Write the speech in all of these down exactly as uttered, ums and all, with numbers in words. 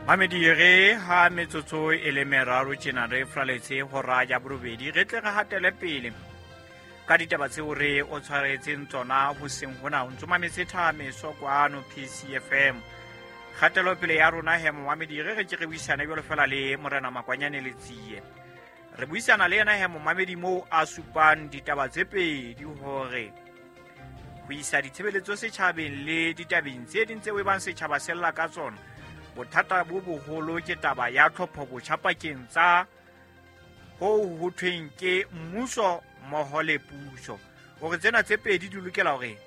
Mamedi re ha metsotso e le meraro tjena re fraletse hora ya borobedi, re tle re hatele pele ka ditaba tseo re o tshwaretseng tsona hoseng hona. O ntso mametse Thameso kwano P C F M. Kgatelopele ya rona he momamedi, re re ke re buisane jwalo fela le Morena Makwanyane Letsie. Re buisana le yena he momamedi moo a supang ditaba tse pedi hore ho isa ditshebeletso setjhabeng le ditabeng tse ding tseo e bang setjhaba se lla ka tsona. Bothata bo boholo ke taba ya tlhopho botjha pakeng tsa ho ho thweng ke mmuso mmoho le puso. Hore tsena tse pedi di lokela hore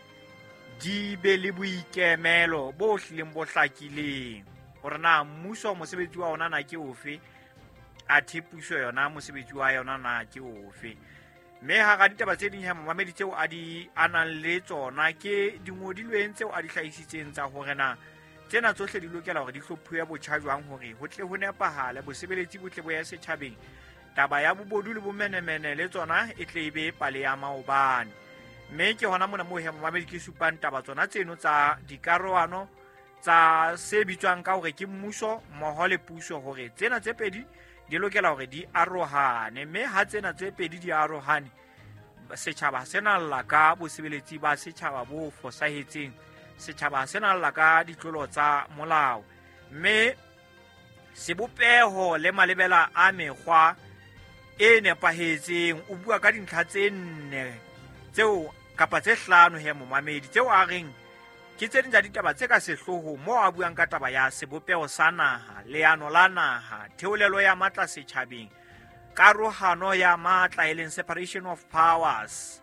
di be le boikemelo bo hlileng bo hlakileng. Hore na mmuso mosebetsi wa ona na ke ofe, athe puso yona mosebetsi wa yona na ke ofe. Mme hara ditaba tse ding he momamedi tseo a di a nang le tsona ke dingodilweng tseo a di hlahisitseng tsa hore na tsena tsohle di lokela hore di hlophuwe botjha jwang hore ho tle ho nepahale, bosebeletsi bo tle bo ye setjhabeng. Taba ya bobodu le bomenemene le tsona e tle e be pale ya maobane. Mme ke hona mona moo he momamedi ke supang taba tsona tseno tsa dikarohano tsa se bitswang ka hore ke mmuso mmoho le puso, hore tsena tse pedi di lokela hore di arohane. Mme ha tsena tse pedi di arohane, setjhaba se na lla ka bosebeletsi ba setjhaba bo fosahetseng, setjhaba se na lla ka ditlolo tsa molao. Mme sebopeho le malebela a mekgwa e nepahetseng, o bua ka dintlha tse nne tseo kapa tse hlano he momamedi, tseo a reng ke tse ding tsa ditaba tse ka sehloohong moo a buang ka taba ya sebopeho sa naha, leano la naha, theolelo ya matla setjhabeng, karohano ya matla e leng separation of powers,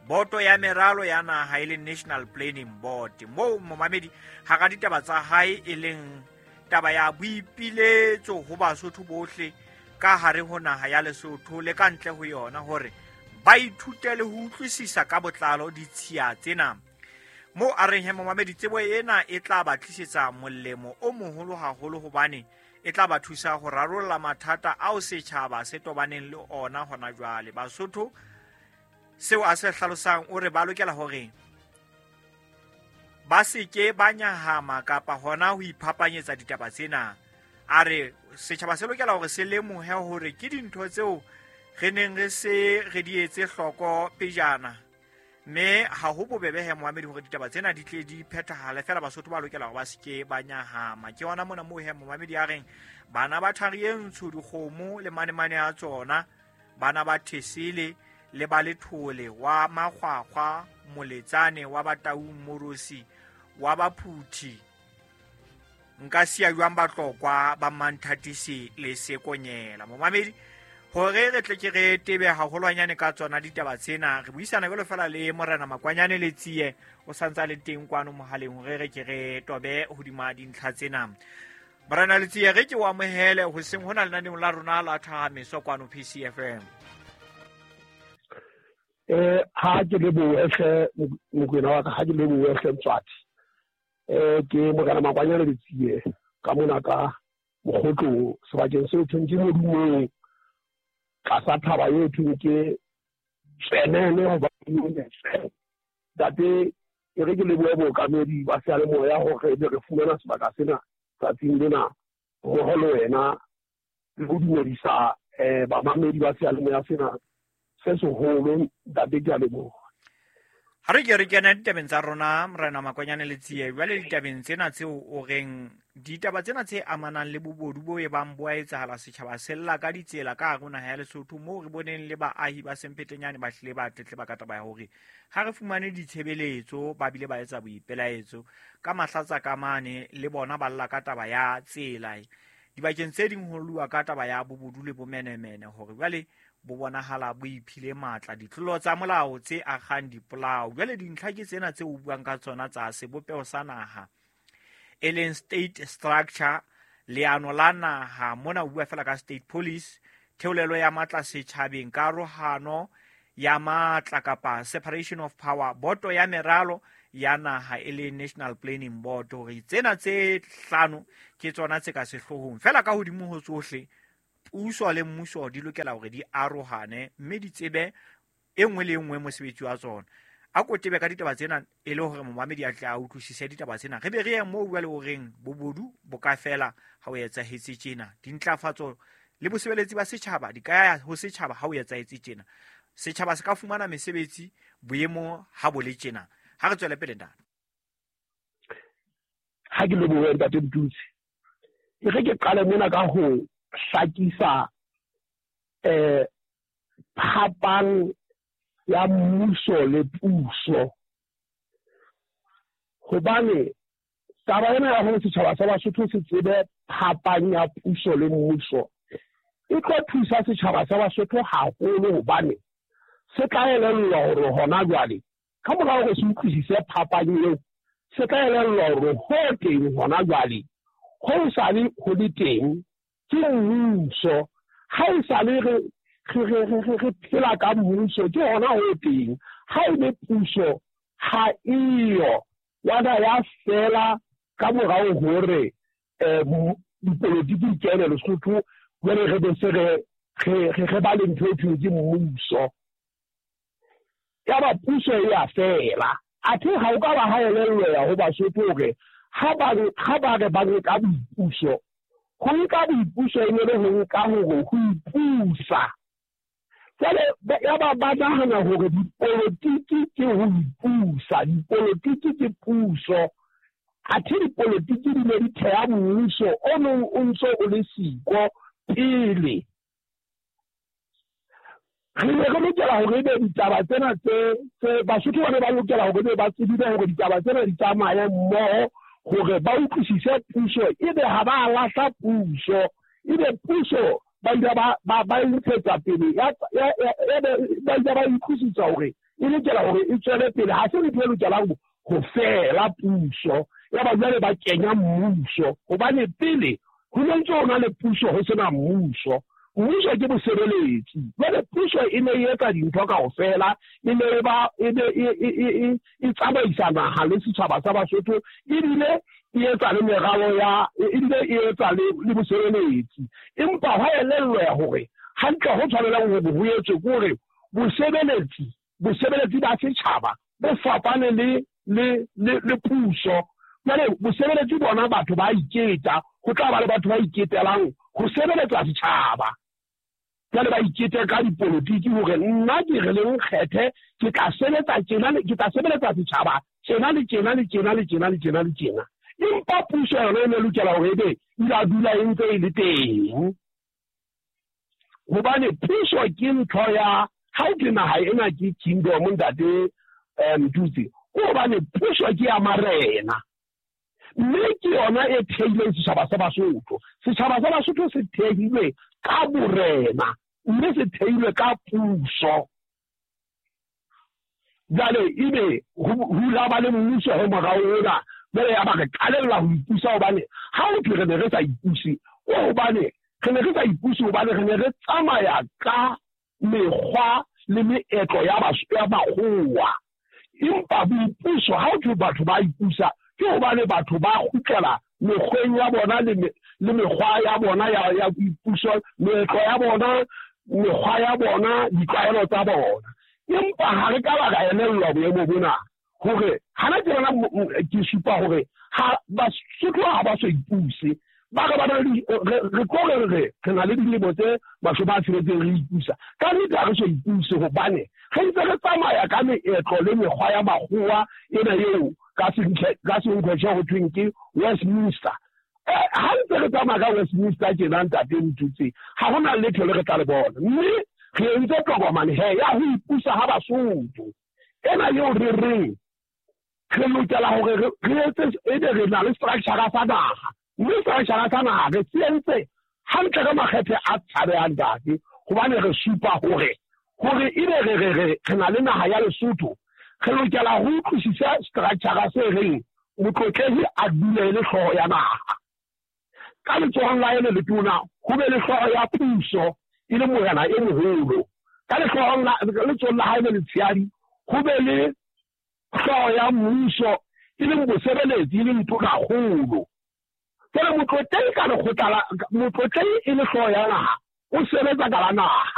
boto ya meralo ya naha e leng National Planning Board. Moo momamedi hara ditaba tsa hae e leng taba ya boipiletso ho Basotho bohle ka hare ho naha ya Lesotho le ka ntle ho yona, hore ba ithute le ho utlwisisa ka botlalo ditshiya tsena. Moo a reng he momamedi, tsebo ena e tla ba tlisetsa molemo o moholo haholo, hobane e tla ba thusa ho rarolla mathata ao setjhaba se tobaneng le ona hona jwale. Basotho seo a se hlalosang o re ba lokela hore ba se ke ba nyahama kapa hona ho iphapanyetsa ditaba tsena. A re setjhaba se lokela hore se lemohe hore ke dintho tseo re neng re se re di etse hloko pejana, mme ha ho bobebe he momamedi hore ditaba tsena di tle di phethahale. Feela Basotho ba lokela hore ba se ke ba nyahama. Ke hona mona moo he momamedi a reng bana ba thari e ntsho dikgomo le manemane a tsona, bana ba thesele le ba lethole wa makgwakgwa moletsane wa Bataung Morosi wa Baphuthi, nka siya jwang Batlokwa ba Manthatisi le Sekonyela. Momamedi, hore re tle ke re tebe haholwanyane ka tsona ditaba tsena, re buisana jwalo fela le Morena Makwanyane Letsie, o santsa le teng kwano mohaleng hore re ke re tobe hodima dintlha tsena. Morena Letsie, re ke o amohele hoseng hona lenaneong la rona la Thameso kwano P C F M. Eh, ha ke lebohe hle Mokwena wa ka, ha ke lebohe hle Mtswadi. Eh, ke Morena Makwanyane Letsie ka mona ka Mokgotlong, sebakeng seo thweng ke Modumong, tlasa thaba eo thweng ke Tsenene hobane ntate, e re ke lebohe bookamedi ba seyalemoya hore ebe re fumana sebaka sena tsatsing lena mmoho le wena, le ho dumedisa eh bamamedi ba seyalemoya sena se seholo. Ntate, ke a leboha. Ha re ke re kena ditabeng tsa rona, Morena Makwanyane Letsie, jwale ditabeng tsena tseo o reng ditaba tsena tse amanang le bobodu bo e bang bo a etsahala setjhaba se lla ka ditsela ka hare ho naha ya Lesotho, moo re boneng le baahi ba Sempetenyane ba hlile ba tletleba ka taba ya hore ha re fumane ditshebeletso, ba bile ba etsa boipelaetso ka mahlatsa ka mane, le bona ba lla ka taba ya tsela. Dibakeng tse ding ho lluwa ka taba ya bobodu le bomenemene, hore jwale bo bonahala bo iphile matla, ditlolo tsa molao tse akgang dipolao. Jwale dintlha ke tsena tse o buang ka tsona tsa sebopeho sa naha, e leng state structure, leano la naha. Mona o bua fela ka state police, theolelo ya matla setjhabeng, karohano ya matla kapa separation of power, boto ya meralo ya naha e leng National Planning Board. Hore tsena tse hlano ke tsona tse ka sehloohong. Fela ka hodimo ho tsohle, puso le mmuso di lokela hore di arohane mme di tsebe e nngwe le e nngwe mosebetsi wa tsona. A ko tebe ka ditaba tsena e le hore momamedi a tle a utlwisise ditaba tsena. Re be re ye moo bua le horeng bobodu bo ka fela ha o etsahetse tjena. Dintlafatso le bosebeletsi ba setjhaba di ka ya ho setjhaba ha o etsahetse tjena. Setjhaba se ka fumana mesebetsi boemo ha bo le tjena. Ha re tswele pele ntate. Ha ke lebohe ntate Mtutsi. E re ke qale mona ka ho hlakisa eh phapang ya mmuso le puso. Hobane taba ena ya hore setjhaba sa Basotho se tsebe phapang ya puso le mmuso e tlo thusa setjhaba sa Basotho haholo, hobane se tla elellwa hore hona jwale ka mora hore se utlwisise phapang eo, se tla elellwa hore ho teng hona jwale ho sale ho le teng ke mmuso. Ha e sale re re re re phela ka mmuso ke hona ho teng. Ha e le puso ha eyo ya da ya fela ka morao hore eh dipolotiki di kene Lesotho, jwale re be se re re re ba le ntho e thweng ke mmuso. Ya ba puso e ya fela. Athe ha o ka ba ha elellwa ho Basotho hore ha ba ha ba re ba nka boipuso, ho nka boipuso e ne le ho nka hore ho ipusa. Jwale ya ba ba nahana hore dipolotiki ke ho ipusa, dipolotiki ke puso. Athe dipolotiki di ne di theha mmuso o nong o ntso o le siko pele. Re ne re lokela hore ebe ditaba tsena tse tse Basotho ba ne ba lokela hore ebe ba tsebile hore ditaba tsena di tsamaye mmoho hore ba utlwisise puso, ebe ha ba lahla puso, ebe puso ba ile ba ba ba ntshetsa pele ya ebe ba ile ba utlwisisa hore e lokela hore e tswele pele. Ha se ntho e lokelang ho fela puso, ya ba jwale ba kenya mmuso, hobane pele ho ne ntse ho na le puso ho sena mmuso. Mmuso ke bosebeletsi. Jwale puso e ne e etsa dintho kaofela, e ne e ba e ne e e tsamaisa naha le setjhaba sa Basotho, ebile e etsa le meralo ya ebile e etsa le le bosebeletsi. Empa hwa elellwa hore hantle ho tshwanelang hore ho etswe ke hore bosebeletsi bosebeletsi ba setjhaba bo fapane le le le le puso. Jwale bosebeletsi bona batho ba iketa, ho tla ba le batho ba iketelang ho sebeletsa setjhaba. Jwale ba ikete ka dipolotiki hore nna ke re le nkgethe, ke tla sebetsa tjena, ke tla sebeletsa setjhaba tjena le tjena le tjena le tjena le tjena le tjena. Empa puso yona e ne lokela hore ebe e la dula e ntse e le teng, hobane puso ke ntho ya ha o ke naha ena ke kingdom ntate Mtutsi, hobane puso ke ya marena, mme ke yona e theileng setjhaba sa Basotho. Setjhaba sa Basotho se theilwe ka borena, mme se theilwe ka puso. Jwale ebe ho la ba le mmuso ho morao ona, jwale ya ba re qalella ho ipusa, hobane ha o thwe re ne re sa ipuse, hobane re ne re sa ipuse hobane re ne re tsamaya ka mekgwa le meetlo ya ya makgowa. Empa boipuso ha o thwe batho ba ipusa, ke hobane batho ba kgutlela mekgweng ya bona le le mekgwa ya bona ya ya boipuso, meetlo ya bona, mekgwa ya bona, ditlwaelo tsa bona. Empa ha re ka ba ra elellwa boemo bona hore hana ke bona ke supa hore ha Basotho ha ba so ipuse, ba re ba re re tlo re re re na le dilemo tse mashome a tsheletseng re ipusa. Ka nnete ha re so ipuse, hobane re ntse re tsamaya ka meetlo le mekgwa ya makgowa ena eo ka senkgwetjhe ho thweng ke Westminster. Ha ntse re tsamaya ka Westminster tjena ntate Mtutsi, ha hona letho le re tla le bona. Mme re entse tokomane he ya ho ipusa ha Basotho ena eo re reng re lokela hore re etse ebe re na le structure sa naha, mme structure sa naha re se entse hantle ka makgethe a tshabehang ntate, hobane re supa hore hore ebe re re re na le naha ya Lesotho, re lokela ho utlwisisa structure se reng motlotlehi a dule le hlooho ya naha. Ka letsohong la hae le letona ho be le hlooho ya puso e le morena e moholo, ka letsohong la letsohong la hae le letshehadi ho be le hlooho ya mmuso e leng bosebeletsi e leng tonakgolo. Jwale motlotlehi ka lekgotla la motlotlehi e le hlooho ya naha o sebetsa ka la naha.